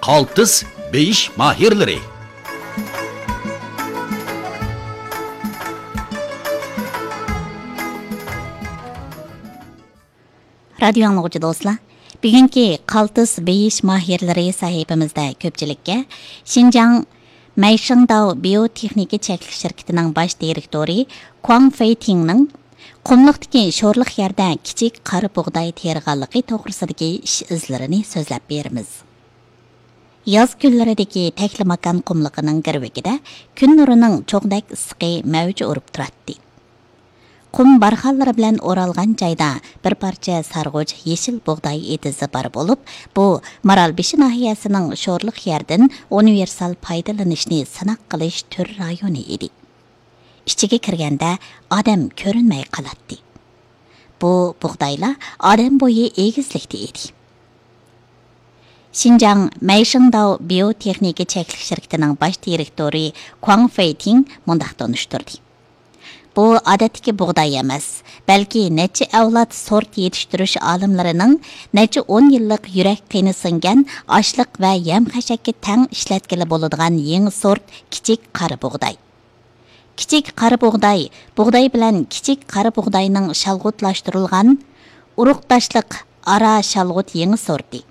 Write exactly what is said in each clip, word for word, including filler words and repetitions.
قالتىس بېيىش ماھىرلىرى. رادىيو ئاڭلىغۇچى دوستلار، بۈگۈنكى قالتىس بېيىش ماھىرلىرى سەھىپىمىزدە كۆپچىلىككە شىنجاڭ مەيشىڭداۋ بىيوتېخنىكا چەكلىك شىركىتىنىڭ باش دىرېكتورى كۇاڭ فېيتىڭنىڭ قۇملۇقتىكى شورلۇق يەردە كىچىك قارا بۇغداي تېرىغانلىقى توغرىسىدىكى ئىش ئىزلىرىنى سۆزلەپ بېرىمىز. ياز كۈنلىرىدىكى تەكلىماكان قۇملۇقىنىڭ گىرۋىكىدە كۈن نۇرىنىڭ چوغدەك ئىسسىقى مەۋج ئۇرۇپ تۇراتتى. قۇم بارخانلىرى بىلەن ئورالغان جايدا بىر پارچە سارغۇچ يېشىل بۇغداي ئېتىزى بار بولۇپ، بۇ مارالبېشى ناھىيەسىنىڭ شورلۇق يەردىن ئۇنىۋېرسال پايدىلىنىشنى سىناق قىلىش تۈر رايونى ئىدى. ئىچىگە كىرگەندە ئادەم كۆرۈنمەي قالاتتى. بۇ بۇغدايلار ئادەم بويى ئېگىزلىكتە ئىدى. شىنجاڭ مەيشىڭداۋ بىيوتېخنىكا چەكلىك شىركىتىنىڭ باش دىرېكتورى كۇاڭ فېيتىڭ مۇنداق تونۇشتۇردى. بۇ ئادەتتىكى بۇغداي ئەمەس، بەلكى نەچچە ئەۋلاد سورت يېتىشتۈرۈش ئالىملىرىنىڭ نەچچە ئون يىللىق يۈرەك قېنى سىڭگەن ئاشلىق ۋە يەم خەشەككە تەڭ ئىشلەتكىلى بولىدىغان يېڭى سورت كىچىك قارا بۇغداي. كىچىك قارا بۇغداي، بۇغداي بىلەن كىچىك قارا بۇغداينىڭ شالغۇتلاشتۇرۇلغان ئۇرۇقداشلىق ئارا شالغۇت يېڭى سورتى.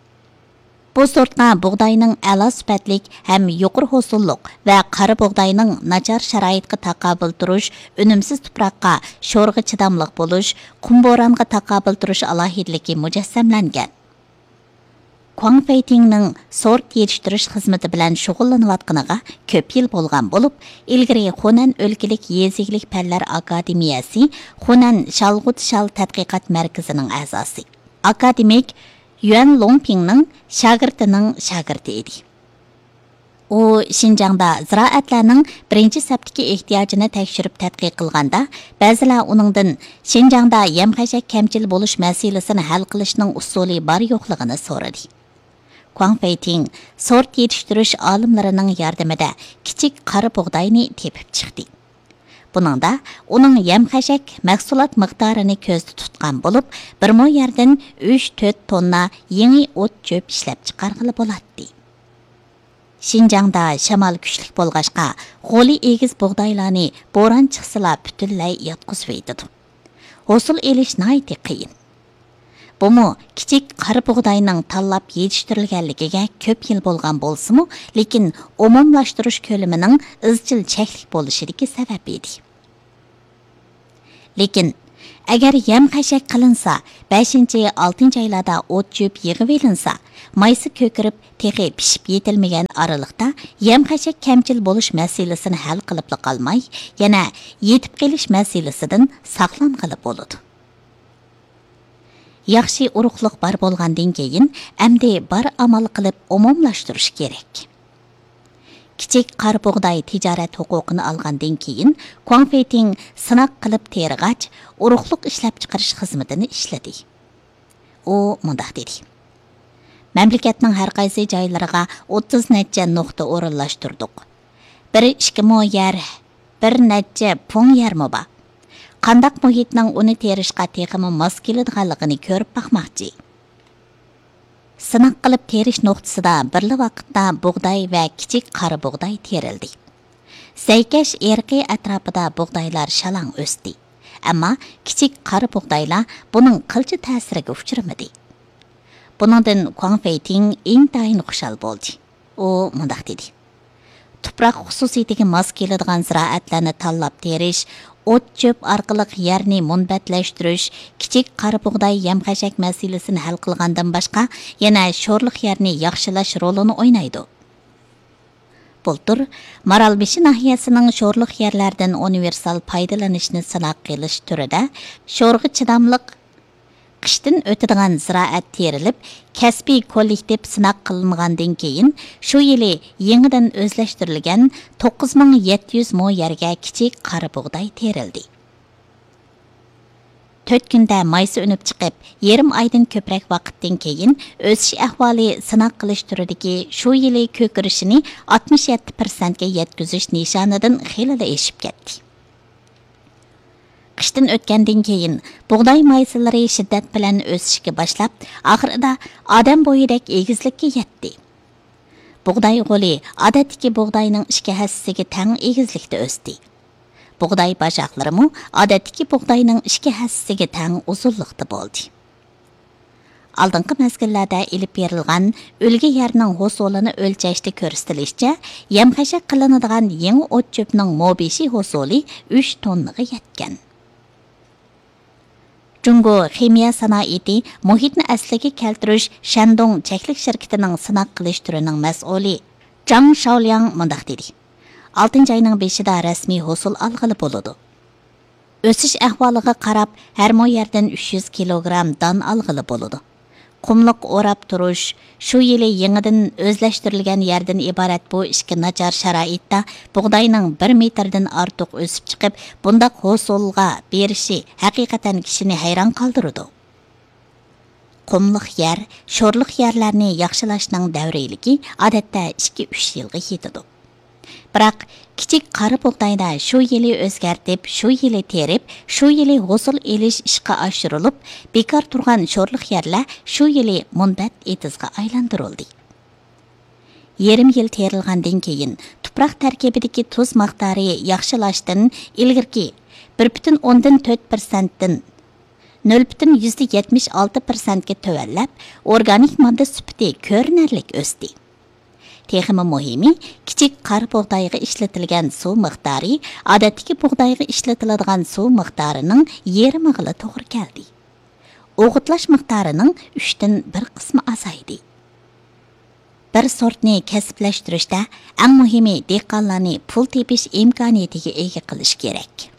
بۇ سورتقا بۇغداينىڭ ئەلا سۈپەتلىك ھەم يۇقىرى ھوسۇللۇق ۋە قارا بۇغداينىڭ ناچار شارائىتقا تاقابىل تۇرۇش، ئۈنۈمسىز تۇپراققا، شورغا چىداملىق بولۇش، قۇم بورانغا تاقابىل تۇرۇش ئالاھىدىلىكى مۇجەسسەملەنگەن. كۇاڭ فېيتىڭنىڭ سورت يېتىشتۈرۈش خىزمىتى بىلەن شۇغۇللىنىۋاتقىنىغا كۆپ يىل بولغان بولۇپ، ئىلگىرى خۇنەن ئۆلكىلىك يېزا ئىگىلىك پەنلەر ئاكادېمىيەسى خۇنەن شالغۇت شال تەتقىقات مەركىزىنىڭ ئەزاسى، ئاكادېمىك يۈەن لوڭپىڭنىڭ شاگىرتىنىڭ شاگىرتى ئىدى. ئۇ شىنجاڭدا زىرائەتلەرنىڭ بىرىنچى سەپتىكى ئېھتىياجىنى تەكشۈرۈپ تەتقىق قىلغاندا، بەزىلەر ئۇنىڭدىن شىنجاڭدا يەم خەشەك كەمچىل بولۇش مەسىلىسىنى ھەل قىلىشنىڭ ئۇسۇلى بار يوقلۇقىنى سورىدى. كۇاڭ فېيتىڭ سورت يېتىشتۈرۈش ئالىملىرىنىڭ ياردىمىدە كىچىك قارا بۇغداينى تېپىپ چىقتى. بۇنىڭدا ئۇنىڭ يەم خەشەك مەھسۇلات مىقدارىنى كۆزدە تۇتقان بولۇپ، بىر مو يەردىن ئۈچ تۆت توننا يېڭى ئوت چۆپ ئىشلەپ چىقارغىلى بولاتتى. شىنجاڭدا شامال كۈچلۈك بولغاچقا، غولى ئېگىز بۇغدايلارنى بوران چىقسىلا پۈتۈنلەي ياتقۇزۇۋېتىدۇ. ھوسۇل ئېلىش ناھايىتى قىيىن. بۇمۇ كىچىك قارا بۇغداينىڭ تاللاپ يېتىشتۈرۈلگەنلىكىگە كۆپ يىل بولغان بولسىمۇ، لېكىن ئومۇملاشتۇرۇش كۆلىمىنىڭ ئىزچىل چەكلىك بولۇشىدىكى سەۋەب ئىدى. لېكىن، ئەگەر يەم خەشەك قىلىنسا، بەشىنچى، ئالتىنچى ئايلاردا ئوت چۆپ يىغىۋېلىنسا، مايسا كۆكىرىپ، تېخى پىشىپ يېتىلمىگەن ئارىلىقتا يەم خەشەك كەمچىل بولۇش مەسىلىسىنى ھەل قىلىپلا قالماي، يەنە يېتىپ قېلىش مەسىلىسىدىن ساقلانغىلى بولىدۇ. ياخشى ئۇرۇقلۇق بار بولغاندىن كېيىن، ئەمدى بار ئامال قىلىپ ئومۇملاشتۇرۇش كېرەك. كىچىك قارا بۇغداي تىجارەت ھوقۇقىنى ئالغاندىن كېيىن، كۇاڭ فېيتىڭ سىناق قىلىپ تېرىغاچ، ئۇرۇقلۇق ئىشلەپچىقىرىش خىزمىتىنى ئىشلىدى. ئۇ مۇنداق دېدى: مەملىكەتنىڭ ھەر قايسى جايلىرىغا ئوتتۇز نەچچە نۇقتا ئورۇنلاشتۇردۇق. بىر ئىككى مو يەر، بىر نەچچە پۇڭ يەرمۇ بار. قانداق مۇھىتنىڭ ئۇنى تېرىشقا تېخىمۇ ماس كېلىدىغانلىقىنى كۆرۈپ باقماقچى. سىناق قىلىپ تېرىش نۇقتىسىدا بىرلا ۋاقىتتا بۇغداي ۋە كىچىك قارا بۇغداي تېرىلدى. زەيكەش ئېرىقى ئەتراپىدا بۇغدايلار شالاڭ ئۆستى. ئەمما كىچىك قارا بۇغدايلار بۇنىڭ قىلچە تەسىرىگە ئۇچرىمىدى. بۇنىڭدىن كۇاڭ فېيتىڭ ئىنتايىن خۇشال بولدى. ئۇ مۇنداق دېدى: تۇپراق خۇسۇسىيىتىگە ماس كېلىدىغان زىرائەتلەرنى تاللاپ تېرىش، ئوت چۆپ ئارقىلىق يەرنى مۇنبەتلەشتۈرۈش، كىچىك قارا بۇغداي يەم خەشەك مەسىلىسىنى ھەل قىلغاندىن باشقا، يەنە شورلۇق يەرنى ياخشىلاش رولىنى ئوينايدۇ. بۇلتۇر مارالبېشى ناھىيەسىنىڭ شورلۇق يەرلەردىن ئۇنىۋېرسال پايدىلىنىشنى سىناق قىلىش تۈرىدە شورغا چىداملىق، قىشتىن ئۆتىدىغان زىرائەت تېرىلىپ، كەسپىي كوللېكتىپ سىناق قىلىنغاندىن كېيىن، شۇ يىلى يېڭىدىن ئۆزلەشتۈرۈلگەن توققۇز مىڭ يەتتە يۈز مو يەرگە كىچىك قارا بۇغداي تېرىلدى. تۆت كۈندە مايسا ئۈنۈپ چىقىپ، يېرىم ئايدىن كۆپرەك ۋاقىتتىن كېيىن، ئۆسۈش ئەھۋالى سىناق قىلىش تۈرىدىكى شۇ يىلى كۆكىرىشىنى ئاتمىش يەتتە پىرسەنتكە يەتكۈزۈش نىشانىدىن خېلىلا ئېشىپ كەتتى. قىشتىن ئۆتكەندىن كېيىن، بۇغداي مايسىلىرى شىددەت بىلەن ئۆسۈشكە باشلاپ، ئاخىرىدا ئادەم بويىدەك ئېگىزلىككە يەتتى. بۇغداي غولى ئادەتتىكى بۇغداينىڭ ئىككى ھەسسىسىگە تەڭ ئېگىزلىكتە ئۆستى. بۇغداي باشاقلىرىمۇ ئادەتتىكى بۇغداينىڭ ئىككى ھەسسىسىگە تەڭ ئۇزۇنلۇقتا بولدى. ئالدىنقى مەزگىللەردە ئېلىپ بېرىلغان ئۈلگە يەرنىڭ ھوسۇلىنى ئۆلچەشتە كۆرسىتىلىشىچە، يەم-خەشەك قىلىنىدىغان يېڭى ئوت-چۆپنىڭ موبىشى ھوسۇلى ئۈچ توننىغا يەتكەن. جۇڭگو خىمىيە سانائىتى مۇھىتنى ئەسلىگە كەلتۈرۈش شەندۇڭ چەكلىك شىركىتىنىڭ سىناق قىلىش تۈرىنىڭ مەسئۇلى جاڭ شاولياڭ مۇنداق دېدى: «ئالتىنچى ئاينىڭ بېشىدا رەسمىي ھوسۇل ئالغىلى بولىدۇ. ئۆسۈش ئەھۋالىغا قاراپ، ھەر مو يەردىن ئۈچ يۈز كىلوگرام دان ئالغىلى بولىدۇ.» قۇملۇق ئوراپ تۇرۇش، شۇ يىلى يېڭىدىن ئۆزلەشتۈرۈلگەن يەردىن ئىبارەت بۇ ئىككى ناچار شارائىتتا بۇغداينىڭ بىر مېتىردىن ئارتۇق ئۆسۈپ چىقىپ، بۇنداق ھوسۇلغا بېرىشى ھەقىقەتەن كىشىنى ھەيران قالدۇرىدۇ. قۇملۇق يەر، شورلۇق يەرلەرنى ياخشىلاشنىڭ دەۋرىيلىكى ئادەتتە ئىككى، ئۈچ يىلغا يېتىدۇ. بىراق، كىچىك قارا بۇغدايدا شۇ يىلى ئۆزگەرتىپ، شۇ يىلى تېرىپ، شۇ يىلى ھوسۇل ئېلىش ئىشقا ئاشۇرۇلۇپ، بىكار تۇرغان شورلۇق يەرلەر شۇ يىلى مۇنبەت ئېتىزغا ئايلاندۇرۇلدى. يېرىم يىل تېرىلغاندىن كېيىن، تۇپراق تەركىبىدىكى تۇز مىقدارى ياخشىلاشتىن ئىلگىرىكى بىر پۈتۈن ئوندىن تۆت پىرسەنتتىن نۆل پۈتۈن يۈزدە يەتمىش ئالتە پىرسەنتكە تۆۋەنلەپ، ئورگانىك ماددا سۈپىتى كۆرۈنەرلىك ئۆستى. تېخىمۇ مۇھىمى، كىچىك قارا بۇغدايغا ئىشلىتىلگەن سۇ مىقدارى ئادەتتىكى بۇغدايغا ئىشلىتىلىدىغان سۇ مىقدارىنىڭ يېرىمىغىلا توغرا كەلدى. ئوغۇتلاش مىقدارىنىڭ ئۈچتىن بىر قىسمى ئازايدى. بىر سورتنى كەسىپلەشتۈرۈشتە ئەڭ مۇھىمى دېھقانلارنى پۇل تېپىش ئىمكانىيىتىگە ئىگە قىلىش كېرەك.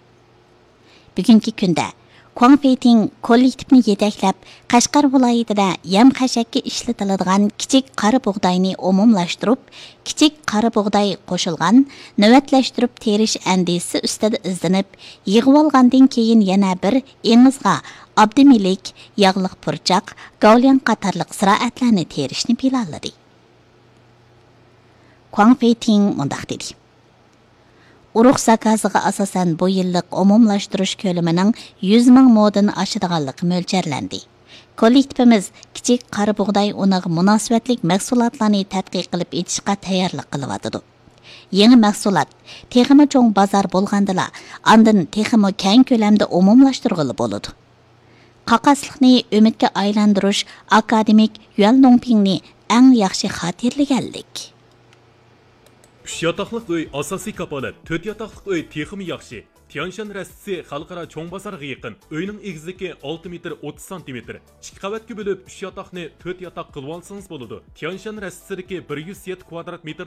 بۈگۈنكى كۈندە، كۇاڭ فېيتىڭ كوللېكتىپنى يېتەكلەپ، قەشقەر ۋىلايىتىدە يەم-خەشەككە ئىشلىتىلىدىغان كىچىك قارا بۇغداينى ئومۇملاشتۇرۇپ، كىچىك قارا بۇغداي قوشۇلغان نۆۋەتلەشتۈرۈپ تېرىش ئەندىزىسى ئۈستىدە ئىزدىنىپ، يىغىۋالغاندىن كېيىن يەنە بىر ئېڭىزغا ئابدىمىلىك، ياغلىق پۇرچاق، گاۋلياڭ قاتارلىق زىرائەتلەرنى تېرىشنى پىلانلىدى. كۇاڭ فېيتىڭ مۇنداق دېدى: ئۇرۇق زاكازىغا ئاساسەن، بۇ يىللىق ئومۇملاشتۇرۇش كۆلىمىنىڭ يۈز مىڭ مودىن ئاشىدىغانلىقى مۆلچەرلەندى. كوللېكتىپىمىز كىچىك قارا بۇغداي ئۇنىغا مۇناسىۋەتلىك مەھسۇلاتلارنى تەتقىق قىلىپ ئېچىشقا تەييارلىق قىلىۋاتىدۇ. يېڭى مەھسۇلات تېخىمۇ چوڭ بازار بولغاندىلا، ئاندىن تېخىمۇ كەڭ كۆلەمدە ئومۇملاشتۇرغىلى بولىدۇ. قاقاسلىقنى ئۈمىدكە ئايلاندۇرۇش ئاكادېمىك يۈەن لۇڭپىڭنى ئەڭ ياخشى خاتىرىلىگەنلىك. ئۈچ ياتاقلىق ئۆي ئاساسىي كاپالەت، تۆت ياتاقلىق ئۆي تېخىمۇ ياخشى. تيانشان رەستىسى خەلقئارا چوڭ بازارغا يېقىن. ئۆينىڭ ئېگىزلىكى ئالتە مېتىر ئوتتۇز سانتىمېتىر. ئىككى قەۋەتكە بۆلۈپ، ئۈچ ياتاقنى تۆت ياتاق قىلىۋالسىڭىز بولىدۇ. تيانشان رەستىسىدىكى بىر يۈز يەتتە كۋادرات مېتىر